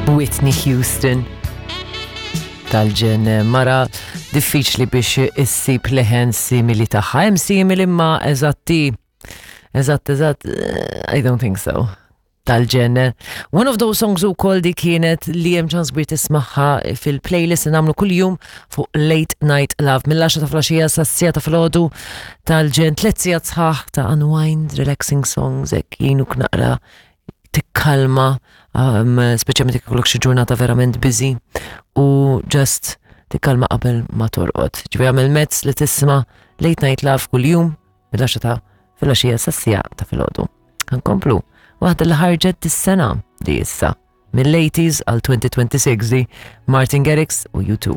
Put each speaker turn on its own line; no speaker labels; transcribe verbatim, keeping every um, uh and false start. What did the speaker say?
Whitney Houston. Tal-ġenn, mara diffiċli biex issib leħen simili tagħha. Hemm simili imma eżatti. Eżatt, eżatt, I don't think so. Tal-ġenn. One of those songs ukoll di kienet li hemm ċans kbir tismagħha fil-playlist li nagħmlu kuljum fuq Late Night Love mill-għaxra ta' filgħaxija sas-siegħa ta' filgħodu. Tal-ġenn, tliet sigħat sħaħ ta' unwind, relaxing songs, hekk jgħinuk naqra tikkalma, um, speċjalment jekk ikollok xi ġurnata verament busy u just tikkalma qabel ma torqod. Ġifieri għamel mezz li tisma' Late Night Love kuljum mill-għaxra ta' filgħaxija sas-siegħa ta' filgħodu. Nkomplu waħda li ħarġet dis-sena di issa mill-eighties għal twenty twenty-six di Martin Garrix u U two.